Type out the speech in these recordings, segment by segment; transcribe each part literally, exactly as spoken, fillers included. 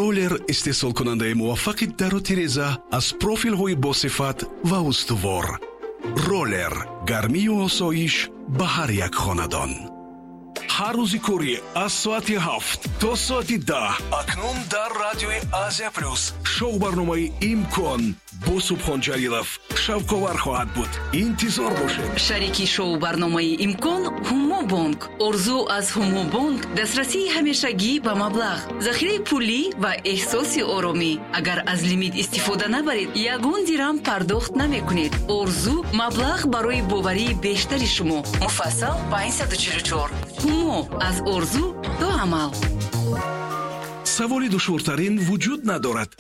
Роллер истеҳсолкунандаи муваффақи дару тиреза аз профилҳои босифат ва устувор. Роллер гармию осоиш ба ҳар як хонадон. Ҳар рӯзи корӣ аз соати ҳафт то соати даҳ акнун дар радиои Азия Плюс шоу-барномаи «Имкон» бо Субҳон Ҷалилов шавқовар хоҳад буд. Интизор бошед. Шарики шоу-барномаи «Имкон» Ҳумобонк. Орзу аз Ҳумобонк дастрасии ҳамешагӣ ба маблағ, захираи пулӣ ва эҳсоси оромӣ. Агар аз лимит истифода набаред, ягон дирам пардохт намекунед. Орзу маблағ барои боварии бештари шумо. Муфассал панҷсаду чилу чор. Ҳумо аз орзу то амал. Саволи душвортарин вуҷуд надорад.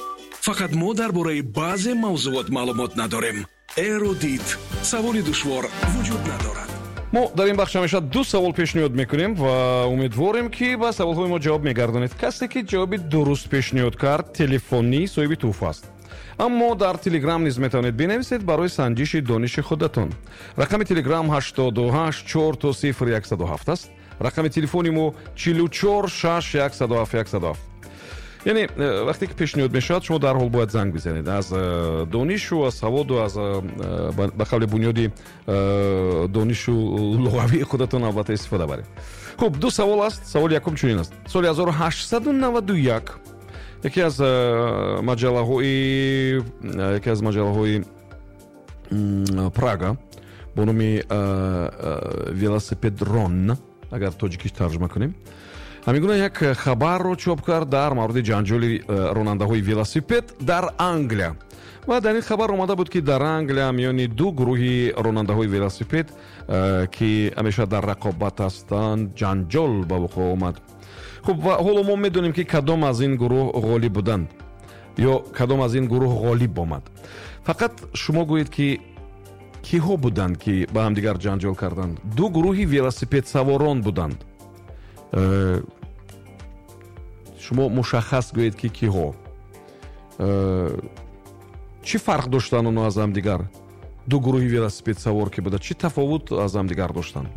Фақат мо дар бораи баъзе мавзуот маълумот надорем. Эрудит. Саволи душвор вуҷуд надорад. Мо дар ин бахш ҳамеша ду савол пешниҳод мекунем ва умедворем, ки ба саволҳои мо ҷавоб мегардонед. Касе ки ҷавоби дуруст пешниҳод кард, телефонӣ соҳиби тӯҳфа аст. Аммо дар Телеграм низ метавонед бинависед барои санҷиши дониши худатон. Рақами Телеграм ҳаштоду ҳашт чор то сифр яксаду ҳафт аст. Рақами телефони мо чилу чор шаш яксаду ҳафт яксаду ҳафт. Яъне вақте ки пешниҳод мешавад, шумо дарҳол бояд занг бизанед. Аз донишу, аз саводу, аз ба қавли бунёди донишу луғавии худатон албатта истифода баред. Хуб, ду савол аст. Саволи якум чунин аст. Соли ҳазору ҳаштсаду наваду як яке аз маҷаллаҳои яке аз маҷаллаҳои Прага бо номи Велосипедрон, агар тоҷикиш тарҷума кунем, ҳамин гуна як хабарро чоп кард дар мавриди ҷанҷоли ронандаҳои велосипед дар Англия. Ва дар ин хабар омада буд, ки дар Англия миёни ду гурӯҳи ронандаҳои велосипед, ки ҳамеша дар рақобат ҳастанд, ҷанҷол ба вуқӯъ омад. Хуб, ва ҳоло мо медонем, ки кадом аз ин гурӯҳ ғолиб буданд ё кадом аз ин гурӯҳ ғолиб омад. Фақат шумо гӯед, ки киҳо буданд, ки ба ҳамдигар ҷанҷол карданд. Ду гурӯҳи велосипедсаворон буданд. Шумо мушаххас гӯед, ки киҳо. Чӣ фарқ доштанд онҳо аз ҳамдигар? Ду гурӯҳи велосипедсавор ки буда, чӣ тафовут аз ҳамдигар доштанд?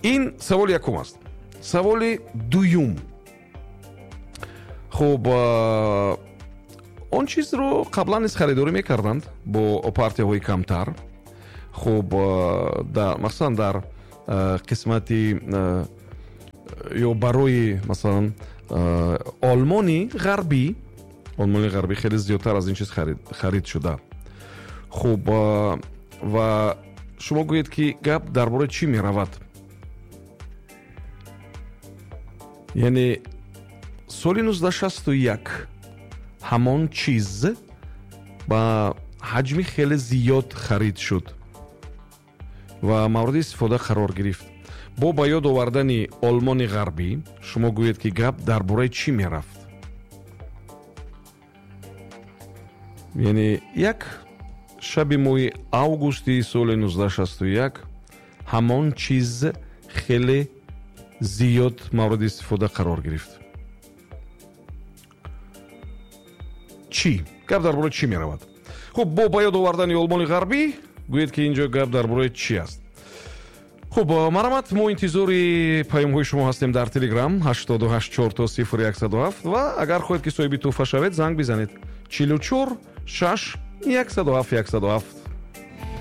Ин саволи якум аст. Саволи дуюм. Хуб, он чизро қаблан низ харидорӣ мекарданд бо партияҳои камтар. Хуб, махсусан дар қисмати ё барои масалан Олмони ғарбӣ, Олмони ғарбӣ хеле зиёдтар аз ин чиз харид шуда. Хуб, ва шумо гӯед, ки гап дар бораи чӣ меравад? Яъне соли нуздаҳ шасту як ҳамон чиз ба ҳаҷми хеле зиёд харид шуд ва мавриди истифода қарор гирифт. Бо ба ёд овардани Олмони ғарбӣ шумо гӯед, ки гап дар бораи чӣ мерафт? Яъне як шаби моҳи августи соли нуздаҳ шасту як ҳамон чиз хеле зиёд мавриди истифода қарор гирифт. Чӣ? Гап дар бораи чӣ меравад? Хуб, бо ба ёд овардани Олмони ғарбӣ гӯед, ки инҷо гап дар бораи чӣ аст. Хуб, марҳамат, мо интизори паёмҳои шумо ҳастем дар Телеграм ҳаштоду ҳашт чор то сифр яксаду ҳафт ва агар хоҳед, ки соҳиби тӯҳфа шавед, занг бизанед чилу чор шаш яксаду ҳафт яксаду ҳафт.